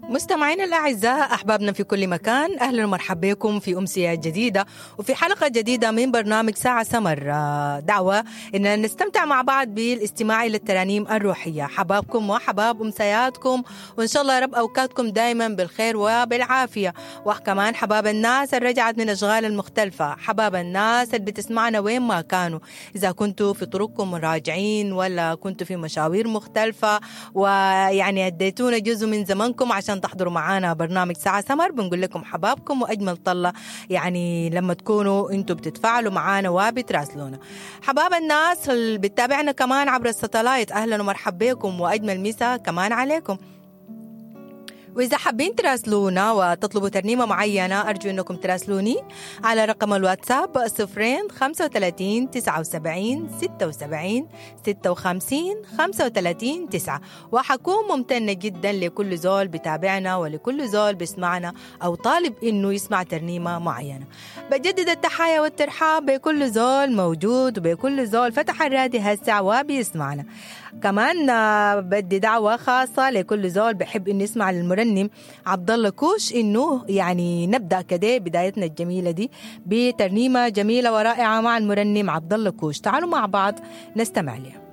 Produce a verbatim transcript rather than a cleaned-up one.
مستمعينا الأعزاء، أحبابنا في كل مكان، أهلا ومرحبا بكم في أمسية جديدة وفي حلقة جديدة من برنامج ساعة سمر. دعوة إن نستمتع مع بعض بالاستماع إلى الترانيم الروحية. حبابكم وحباب أمسياتكم، وإن شاء الله يا رب أوقاتكم دايما بالخير وبالعافية. وكمان حباب الناس اللي رجعت من أشغال المختلفة، حباب الناس اللي بتسمعنا وين ما كانوا، إذا كنتوا في طرقكم راجعين ولا كنتوا في مشاوير مختلفة، ويعني أديتونا جزء من زمنكم عشان تحضروا معانا برنامج ساعة سمر. بنقول لكم حبابكم وأجمل طلة يعني لما تكونوا انتوا بتتفاعلوا معانا وبتراسلونا. حباب الناس اللي بتتابعنا كمان عبر الستلايت، أهلا ومرحبا بكم وأجمل مسا كمان عليكم. وإذا حابين تراسلونا وتطلبوا ترنيمة معينة، أرجو أنكم تراسلوني على رقم الواتساب صفرين خمسة وثلاثين تسعة وسبعين ستة وسبعين ستة وخمسين خمسة وثلاثين تسعة. وحكون ممتنة جدا لكل زول بتابعنا ولكل زول بيسمعنا أو طالب إنه يسمع ترنيمة معينة. بجدد التحايا والترحاب بكل زول موجود وبكل زول فتح الراديو هسه وبيسمعنا. كمان بدي دعوة خاصة لكل زول بحب إنه يسمع للمرنم عبد الله كوش، إنه يعني نبدأ كده بدايتنا الجميلة دي بترنيمة جميلة ورائعة مع المرنم عبد الله كوش. تعالوا مع بعض نستمع لها.